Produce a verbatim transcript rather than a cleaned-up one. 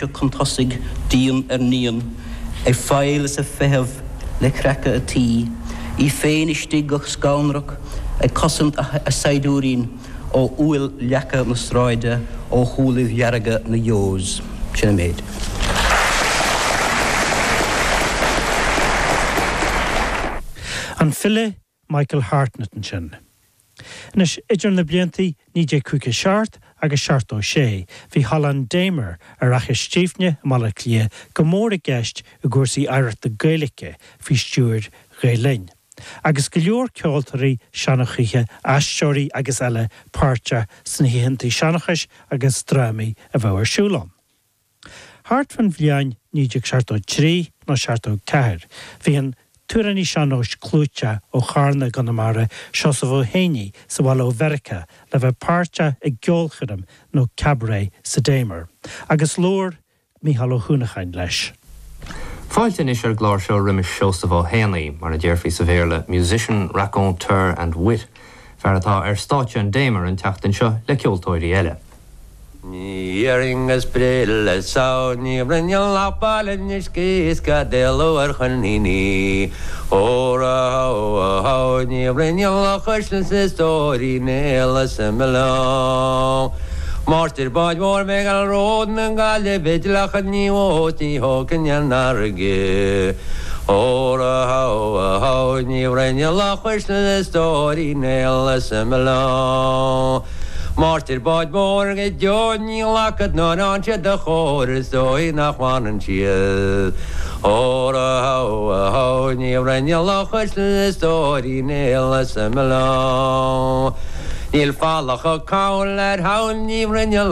ghluaiseacht chun tosaigh dian ar ndian, ag fáil is ag feitheamh le creachadh a tí, í féin istigh go scanrach ag cosaint a saighdiúirín ó fhual leaca na sráide ó shúilibh dhearga na Yeos. Sin an méid. An file Michael Hartnett ansin. Anois idir na blianta naoi déag caoga seacht agus seachtó sé, bhí Halla an Damer ar Fhaiche Stífne i mBaile Átha Cliath go mór i gceist i gcúrsaí oidhreachta Gaeilge faoi stiúir Ghael Linn, agus go leor ceoltóirí seanchaithe, aisteoirí agus eile páirteach sna hoícheanta seanchais agus drámaí a bheadh ar siúl ann. Thart fán bhliain naoi déag seachtó trí nó seachtó ceathair, bhí an t-amhránaí sean-nóis clúiteach ó Charna i gConamara, Seosamh Ó Héanaí, sa bhaile ó Mheiriceá le bheith páirteach i gceolchoirm nó cabaret sa Damer, agus labhair Mícheál Ó hUanacháin leis. Fáilte anois ar an gclár seo roimis Seosamh Ó Héanaí, mar a déarfaí sa Bhéarla, musician, raconteur and wit, fear atá ar stáitse an Damer an tseachtain seo le ceoltóirí eile. Ní dhéarfainn go spréigh le samhail ní rinne lapáil anois is cad é luar choiníní Óra hó hó ní rinne lochas is stóirí néala sa mBileán. Máistir báid mhóir mé gal ród na Gaillimhe leachan ní ó ní thógann an fharraige. Óra hó hó ní rinne lochas is stóirí néala sa mBileán. Máistir báid mhóir go deo ní ghlacad ná an sé do chóir is dóigh nach bhfanann siad. Óra hó hó ní rinne lochas is stóirí néala sa mBileán. Níl fallach a cabhail ar shamhail ní rinne